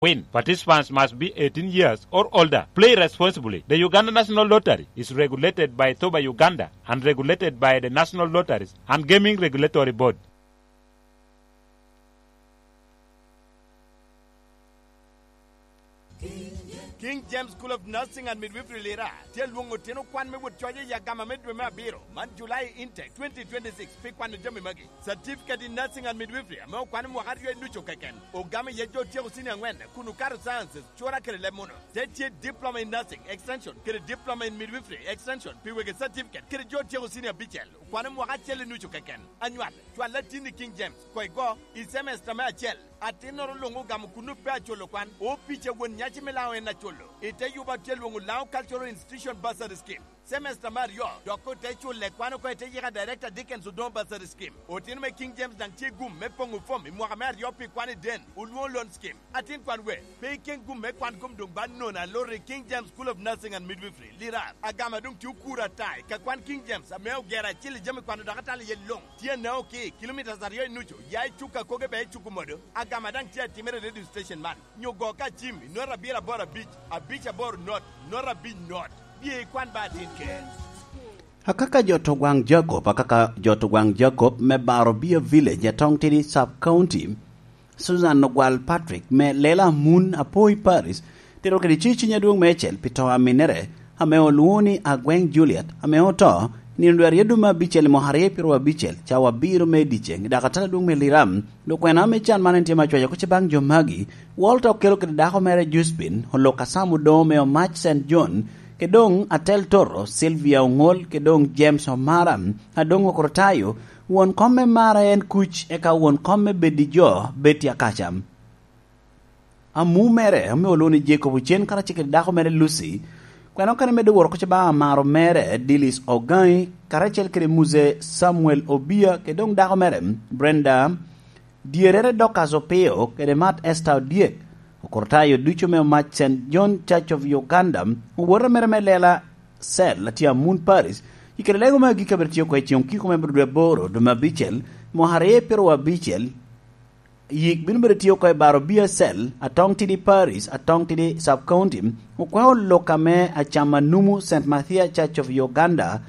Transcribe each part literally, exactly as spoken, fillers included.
win. Participants must be eighteen years or older. Play responsibly. The Uganda National Lottery is regulated by Thoba Uganda and regulated by the National Lotteries and Gaming Regulatory Board. King James School of Nursing and Midwifery Lira tye lwoŋo otino kwan me wot coc i agama me dwe me abiro man, July intake twenty twenty-six, pi kwano jami magi. Certificate in Nursing and Midwifery ame okwano mwaka aryo i nucu keken, ogamo iye jo otyeko senior angwen kun okato sciences, cura kede leb muno. Te tye Diploma in Nursing Extension kede Diploma in Midwifery Extension pi wegi certificate kede jo otyeko senior abicel, okwano mwaka acel i nucu keken. Anywal, cwal atin i King James, koŋ igo i semester me acel. Atinnoro luŋ ogamo kun ope aculo kwan, opica won nyaci me Laŋo en aculo. I te yuba tye lwoŋo Laŋo Cultural Institution Bursary Scheme. Semester me aryo, dok ote culle kwan oko i te yika Director Dickens Odongo Bursary Scheme. Otino me King James daŋ tye gum me poŋo fom i mwaka me aryo pi kwan i den, olwoŋo loan scheme. Atin kwan we, pe iken gum me kwan kom doŋ ba nono aloro i King James School of Nursing and Midwifery, Lirar. Agama doŋ tye okuro ata i ka kwan King James ame ogero acil i jami kwano dok atalo iye luŋ. Tye anao ki kilomitas aryo i nucu, ya i cuk akoge bea i cuk omodo. Agama daŋ tye atimere i radio station man. Nyo go ka cim i not abiro aboro abic, abic aboro not, not abic not. Bye ikwan ba atin ker. Akaka jo to gwaŋ Jacob, akaka jo to gwaŋ Jacob me Baro Bia Village, Atong Tidi Sub County, Susan Ogwal Patrick me Lela Mun Apoi Paris, tito kede ciciny adwoŋ meicel pi to aminere, ame olwoŋo ni Agweng Juliet, ame oto nino dwe aryo dwe me abicel i mwaka aryo pyeraryo abicel, cawa abiro me dyeceŋ, i dakatala adwoŋ me Liram. Dok kwena me can man en tye ma cwaco oko ce baŋ jo magi, Walter okelo kede dako mere Juspin, olok Asam Odoŋo me Omac Saint John, ke doŋ Atel Toro, Sylvia Oŋol, ke doŋ James Omara, a doŋ Okrutayo, won kom me Mara en kuc, eka won kom me Bedi Jo, Betty Akaca. Amu mere, ame olwoŋo ni Jacob Ocen, karacel kede dako mere Lucy, kwena okene medde woro koc baŋ amaro mere, Dilis Ogaŋi, karacel kede Muze Samuel Obia, ke doŋ dako mere, Brenda, dyerere Dorcas Opio, kede Mat Esther Odyek, Okrutayo ducu me Omac Saint John Church of Uganda, owote mere me Lela Cell, atye Amun Paris, i kede lego me agikki abiro tye oko i ceŋ okiko me abiro dwe aboro, dwe me abicel, mwaka aryo pyeraryo abicel, yik bino bedo tye oko i Baro Bia Cell, Atong Tidi Paris, Atong Tidi Sub County, okwao lok ame Acama Numu Saint Mathias Church of Uganda,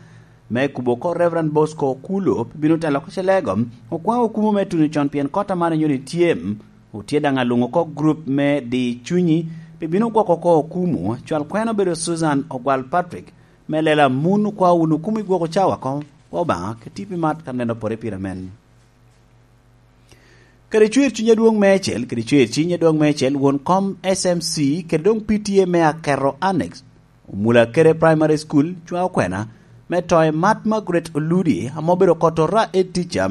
me kubo oko Reverend Bosco Okulo, bino telo oko Celego, okwao okumu me tuno con pien kot amano nyoni tye, otye daŋ alwoŋo oko group me Di Cunyi, pi bino gwoko oko okumu, cwal kwena obedo Susan Ogwal Patrick, me Lela Mun okwao wunu okumu i gwoko cawa oko, kwa Obaŋa, ke tipi mat ka neno pore pire men. Kede cwer cuny adwoŋ meicel, kede cwer cuny adwoŋ meicel, won kom S M C, kede doŋ P T A me Akerro Annex, Omulakere Primary School, cwa okwena, me toye Mat Margaret Oludi, ame obedo kotora e tica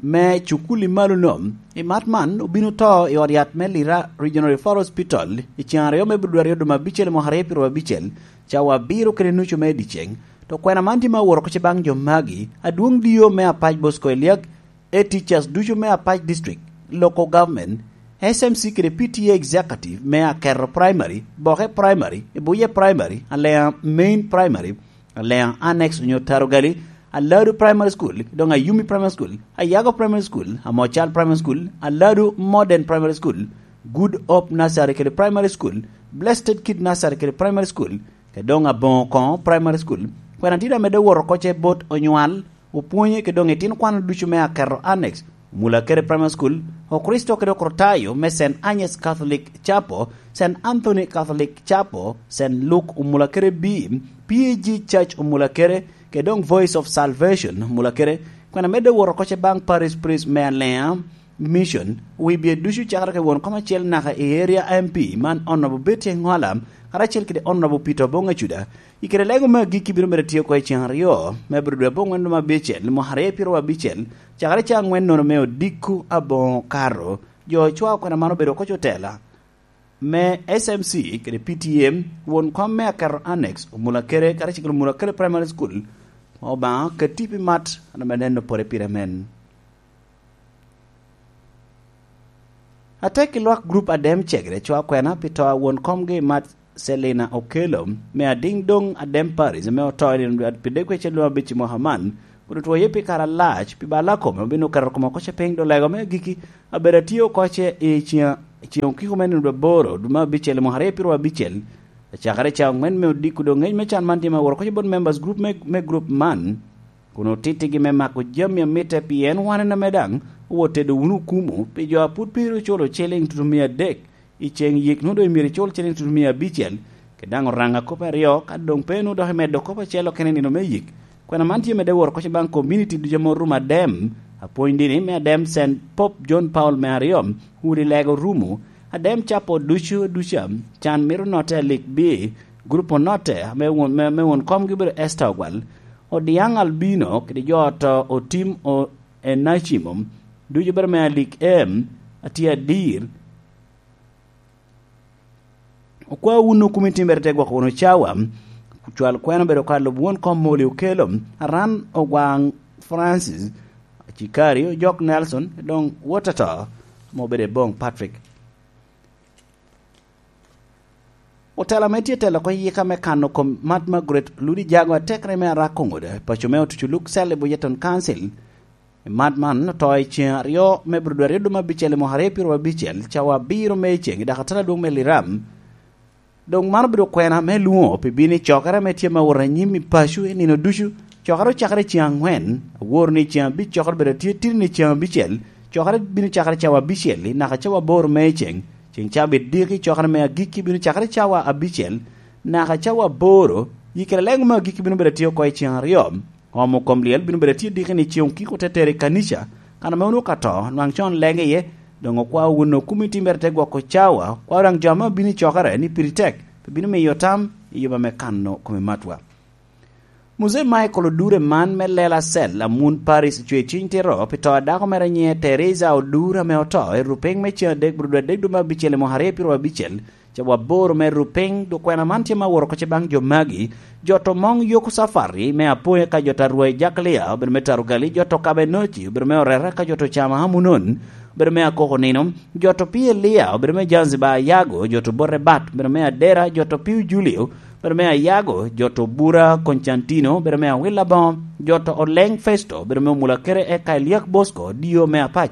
me cukul i malo nom. I mat man, obino to i ot yat me Lira Regional Referral Hospital, i ceŋ aryo me Budwari oduma abicel mwaka aryo pyeraryo abicel, cawa abiro kede nucu me dyeceŋ. To kwena man tye ma aworo oko ce baŋ jo magi, adwoŋ dio me Apac Bosco Eliak, e teachers ducu me Apac District, Local Government, S M C kede P T A Executive me Akerro Primary, Boke Primary, Ibuye Primary, Alea Main Primary, Alea Annex onyo Tarugali, Aladu Primary School, doŋ Ayumi Primary School, Ayago Primary School, Amocal Primary School, Aladu Modern Primary School, Good Hope Nursery kede Primary School, Blessed Kid Nursery kede Primary School, ke doŋ Aboŋo koŋo Primary School. Kwena tye daŋ medde woro oko ce bot onywal, opwonye ke doŋ itino kwano ducu me Akerro Annex, Omulakere Primary School, Okristo kede Okrutayo me Saint Agnes Catholic Chapel, Saint Anthony Catholic Chapel, Saint Luke Omulakere B, P A G Church Omulakere, ke doŋ Voice of Salvation Omulakere. Kwena medde woro oko ce baŋ Parish Priest me Alea Mission, wi bye ducu cakere ke won kom acel naka i area M P man Honorable Betty Engwala, karacel kede Honorable Peter Obong Acuda, i kede lego me agikki bino medo tye oko i ceŋ aryo, me abiro dwe abongwen dwe me abicel, mwaka aryo pyeraryo abicel, cakere ca angwen nono me odiko aboŋo kato. Jo ocwao kwena man obedo oko cotela me S M C kede P T M, won kom me Akerro Annex, Omulakere, karacel kede Omulakere Primary School, Obaŋa keti pi mat, an ame neno pore pire men. Atek i lwak grup Adem Cegre cwa kwena pi to a won komgi Mat Selina Okello, me adiŋ doŋ Adem Paris, me oto i nino dwe pi dek wecel dwe abic i mwaka man, kun otwoye pi kare alac, pi balla kome, obino keto kome oko ce piny, dolego me agikki, abedo atye oko ce i ciŋa I ceŋ okiko me nino aboro, dwe me abicel, mwaka aryo pyeraryo abicel, acakere ca aŋwen me odiko doŋ ngec me can man tye me aworo kocci bot members group me, me group man, kun otittigi me mako jami a mitte, pien wan en ame daŋ owot tedo wunu okumu pi jo a pud pe ru culo ciliŋ tutumia adek i ceŋ yik, nwoŋo doŋ myero icul ciliŋ tutumia abicel, kede daŋ oraŋa kop aryo, ka doŋ pe nwoŋo dok imedo kop acel okene i nino me yik. Kwena man tye medde woro kocci baŋ komuniti ducu ame orumo Adem, apwony dini me Adem Saint Pope John Paul me aryo, udi lega orumo, Adem capo ducu duca, can mito notte alik bi, gurup onotte, ame won, me, me won komgi obedo Esther Ogwal, Odiaŋ Albino, kede jo oto Otim o, Enacimo, ducu obedo me alik em, atye adir, Okwa wun okumi timbere te gwoko wunu cawa, cwal kwena obedo ka lub won kom moli okelo, Aran Ogwaŋ Francis, Cikari Ojok Nelson, doŋ wot ato, ame obedo i boŋ Patrick. Otelo ame tye telo oko yika me kano kom mat Margaret Ludi Jago atekre me Arak Oŋoda, paco me Otucu Luk Cell i Bujeton Council, I mat man oto i ceŋ aryo me Burudu aryo dwe me abicel i mwaka aryo pyeraryo abicel, cawa abiro me i ceŋ i dakatala adwoŋ me Liram. Doŋ man obedo kwena me lwoŋo pi bino i cokere ame tye me wot anyim i paco i nino ducu. Cokere ocakere i ceŋ aŋwen, aworo ni i ceŋ abic cokere obedo atye titini i ceŋ abicel. Cokere bino cakere cawa abicel-li naka cawa aboro me i ceŋ. Ceŋ cabit diki cokere me agikki bino cakere cawa abicel naka cawa aboro. Yikere leŋo me agikki bino bedo atye oko i ceŋ aryo. Omo kom lyel bino bedo atye diki ni ceŋ okiko te tero i kanica, kan ame onwoŋo ka to, nwaŋ con lege iye, doŋ okwao wun okumi timbere te gwoko cawa, okwao daŋ jo ame obino i cokere ni piri tek, pe bino miyo tam i yuba me kano kome matwa. Muzei Michael Odure man me Lela Cell, Amun Paris, ocwe ciny tito pi to a dako mere nyiŋe Teresa Odure ame oto i rupiny me ceŋ adek Burudu adek dwe me abicel i mwaka aryo pyeraryo abicel, Cawa aboro me rupiny, dok kwena man tye me aworo oko ce baŋ jo magi. Jo to moŋ Yoko Safari me Apoya ka jo to Arwai Jaklia, obedo me Tarugali, jo to Kabenoci, obedo me Orera ka jo to Cama Amunon, obedo me Akoko Nino, jo to Pi Elia, obedo me Zanzibar Ayago, jo to Bote Bat, obedo me Adera, jo to Piu Julio, obedo me Ayago, jo to Bura Koncantino, obedo me Awila Boŋo, jo to Oleng Festo, obedo me Omulakere eka Eliak Bosco, Dio me Apac,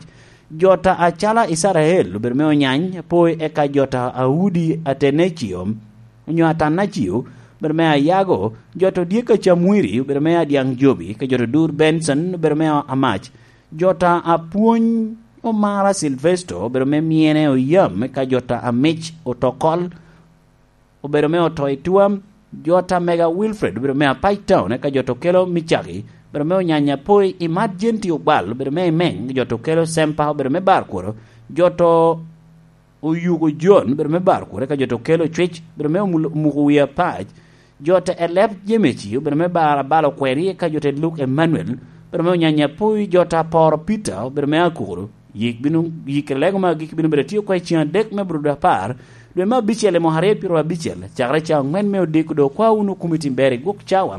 Jo ta acala Icrael obedo me Onyany, apoi eka jo ta Audi Atenecio, onyo Atanacio, obedo me Ayago, jo to Dyek Acamwiri obedo me Adyaŋ Jobi, ka jo to Dur Benson obedo me Amac, jo ta Apwony Omara Silvesto obedo me Myene Oyam, ka jo ta Amic Otokol, obedo me oto i twam, jo ta Mega Wilfred obedo me Apac Town, eka jo to kelo Micaki, obedo me Onyanya Poi, Imat Jenti Ogwal, obedo me Imeng, jo to kelo Sempa, obedo me Barkworo, jo to Oyugo John, obedo me Barkworo, eka jo to kelo Cwic, obedo me Omul-, Omuko Wi Apac, jo ta Elep Jemeci, obedo me Bar Abalo Kweri, eka jo ta Luk Emmanuel, obedo me Onyanya Poi, jo ta Poro Peter, obedo me Akuru, Yik bino, yik i lego me agikki bino bedo atye oko i ceŋ adek me Burudu apar, dwe me abicel i mwaka aryo pyeraryo abicel, cakere ca aŋwen me odiko doŋ okwa wunu kumi tim ber i gwok cawa.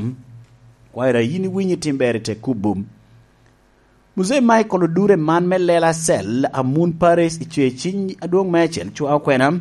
Kwayo daŋ yin iwinyo tim ber i te kubbu. Muzei Michael Odure man me Lela Cell, Amun Paris, i cwe ciny adwoŋ me acel cwa okwena.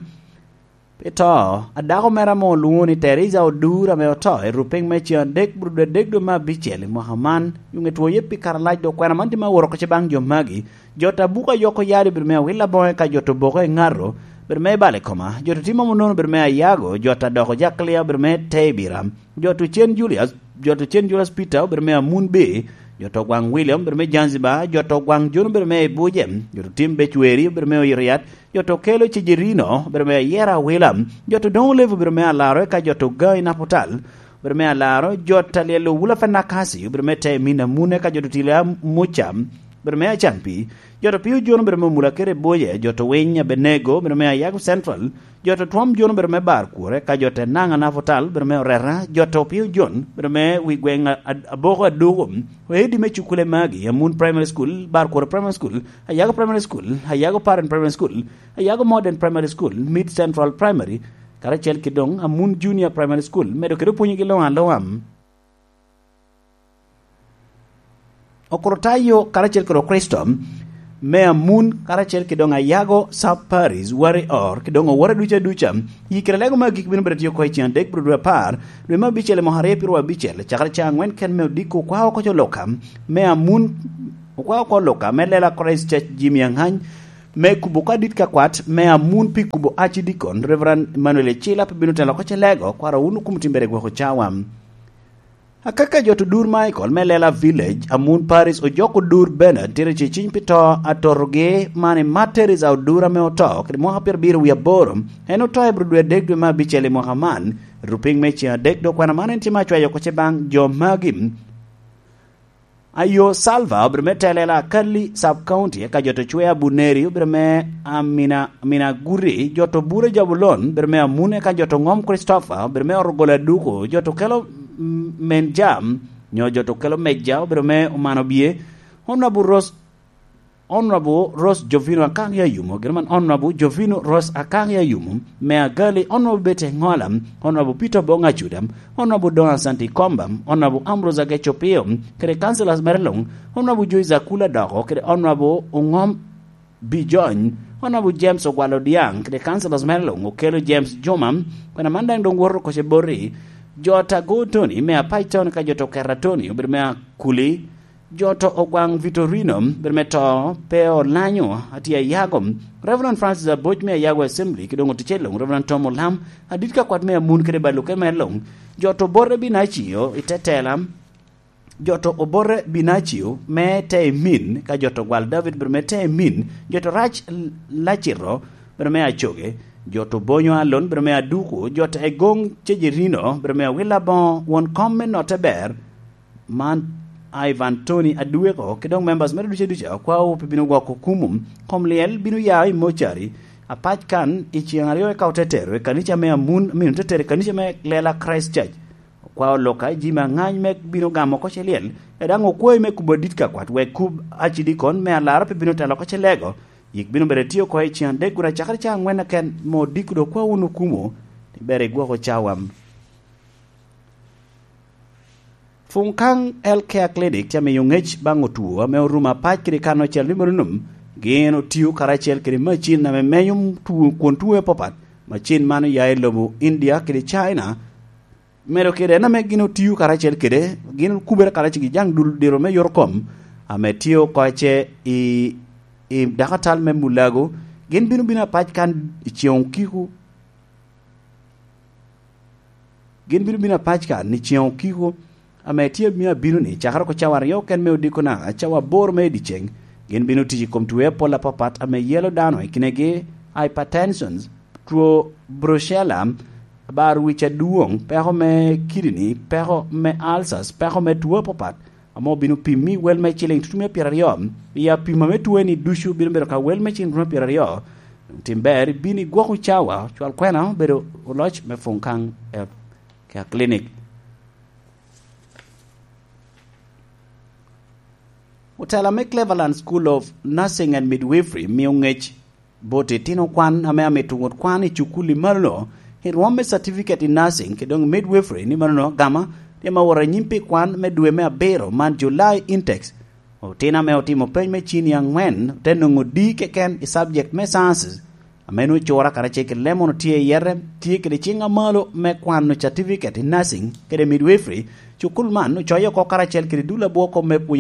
Pi to a dako mere ame olwoŋo ni Teresa Odur ame oto i rupiny me ceŋ adek Burudu adek dwe me abicel i mwaka man, yuŋ etwoye pi kare alac dok kwena man tye me aworo oko ce baŋ jo magi. Jo ta Buka Yoko Yadi obedo me Awila Boŋe ka jo ta Oboke Ŋato obedo me Bale Koma, jo ta Timo Munono obedo me Ayago, jo ta Doko Jaklia obedo me Tebira, jo ta Ocen Julius, jo ta Ocen Julius Peter obedo me Amun Bay, jo ta Ogwaŋ William obedo me Zanzibar, jo ta Ogwaŋ Jon obedo me Ibuje, jo ta Tim Becweri obedo me Oyiriat, Jo to kelo Cijerino, obedo me Ayera Awila. Jo to Doŋ Olevi obedo me Alaro, eka jo to Ga i Naputal, obedo me Alaro. Jo ta Lyel Owula Fenakasi, obedo me Temina Mune, eka jo to Tila Muca, obedo me Acanpi. Jo to Pio Jon obedo me Omula Kere Boye, jo to Winy Abenego, obedo me Ayago Central. Jo to Twom Jon obedo me Bar Kure, eka jo to Naŋa Naputal, obedo me Orera. Jo to Pio Jon, obedo me wi gweŋ a-, a-, Aboko Aduku. Oedi me Cukule Magi, Amun Primary School, Bar Kure Primary School, Ayago Primary School, Ayago Parent Primary School, Ayago Modern Primary School, Mid Central Primary, karacel ki doŋ Amun Junior Primary School, medo kede pwonygi loŋ aloŋa. Okorotayo karacel kede Okristo me Amun, karacel ki doŋ Ayago Sub Paris, Wari Or, ki doŋ Owora duca duca, i kare lego me agik bino bedo tye oko i ceŋ adek bro dwe apar, dwe me abicel i mwaka aryo pyeraryo abicel, cakere ca aŋwen ken me odiko okwa oko co Luka me Amun, okwa oko Luka me lela Christ Church Jimmy Aŋany, me kubo ka dit ka kwat me amun pi kubo acidikon, Reverend Emmanuel Ecila pe bino telo oko celego, kwaro wun okum timbere gwoko cawa. Akaka jo to dur Michael me Lela Village, amun Paris ojoko dur Bernard tira ceciny pi to atotogi man i Martyrs a odur ame oto kede mwaka pyerabiro wie aboro. En oto i bro dwe adek dwe me abicel i mwaka man. Rupiny me ceng adek dok kwena man en tye me acwayo oko ce baŋ jo magi. Ayo Salva obedo me telela Kalli Sub County, eka jo to cwe Abuneri obedo me Amina, Amina Guri, jo to Bura Jabulon obedo me Amune, eka jo to Ngom Christopher obedo me Orogolo Aduko, jo to kelo, mm, Menjam, nyo jo to kelo Mejja obedo me Omano Bie, Honorable Rose, Honorable Rose Jovino Akang Yayumo, gin man Honorable Jovino Rose Akang Yayumo, me Agali, Honorable Betty Ngola, Honorable Peter Bong Acuda, Honorable Don Asante Komba, Honorable Ambrose Ageco Pio, kede councillors mere luŋ, Honorable Joyce Akula Doko, kede Honorable Ongom Bijony, Honorable James Ogwal Odiaŋ, kede councillors mere luŋ, Okelo James Joma, kwena man daŋ doŋ woto oko ce boti, jo Tago Tony, me Apac Tony, ka jo to Kera Tony, obedo me Akuli, jo to Ogwaŋ Vitorino, obedo me to, pe olanyo, atye ayago, Reverend Francis Aboc me Ayago Assembly, ki doŋ oticel luŋ, Reverend Tom Olam, adit ka kwat me Amun kede Baluke mere luŋ, jo to Obote Binacio, i te tela, jo to Obote Binacio, me te i min, ka jo to Gwal David, obedo me te i min, jo to Rac Lacito, obedo me Acoge, jo to Bonyo Alon, obedo me Aduku, jo to Egoŋ Cejerino, obedo me Awila Boŋo, won kom me Notte Ber, man Ivan Tony Adweko, ki doŋ members mere ducu aduca, okwawu pe bino gwoko kumu, kom lyel bino ya i mocari, apac kan i ceŋ aryo eka ote tero i kanica me Amun, amino te tero i kanica me Lela Christ Church. Okwao Luka i jami aŋany me bino gamo oko ce lyel, e daŋ okwayi me kubo adit ka kwat, wek kub acidikon me alara pe bino telo oko ce lego, yik bino bedo tye oko i ceŋ adek kun acakere ca aŋwen aken, mo diko do kwa wun okumo, ni ber igwoko cawa. Funkaŋ Health Care Clinic tye amiyo ŋec baŋ otwo ame orumo apac kede kan ocel ni mono nom, gin otio karacel kede macin ame menyo two, kwon two apapat. Macin man oya i lobo India kede China, medo kede en ame gin otio karacel kede, gin okubere karacel ki jaŋ dul diro me yot kom, ame tye oko ce i, i dakatal me Mulago, gin bino bino apac kan i ceŋ okiko. Gin bino bino apac kan i ceŋ okiko, ame tye amiyo abino ni, cakere oko cawa aryo ken me odiko na, cawa aboro me i dyeceŋ, gin bino tic i kom twe apol apapat ame yelo dano, i kinegi hypertension, two brucella, bar wic adwoŋ, peko me kidini, peko me ulcers, peko me two apapat, ame obino pimmi wel me ciliŋ tutumia pyeraryo. I apima me two ni ducu bino bedo ka wel me ciliŋ tutumia pyeraryo. Tim ber, ibin igwok cawa, cwal kwena obedo oloc me Funkaŋ Health Care Clinic. Otela me Cleveland School of Nursing and Midwifery mio ŋec bot itino kwan ame amito wot kwan i cukul i malo-nu, i rwom me certificate in nursing kede doŋ midwifery ni manono agama, tye ma wot anyim pi kwan me dwe me abiro man, July intakes. Otino ame otimo peny me cini aŋwen te nwoŋo D keken i subject me sciences, ame nwoŋo cura karacel kede Lemon otye i yete, tye kede ciŋ amalo me kwano certificate in nursing kede midwifery. Cukul man ocoyo oko karacel kede dul abwoko me pwonyo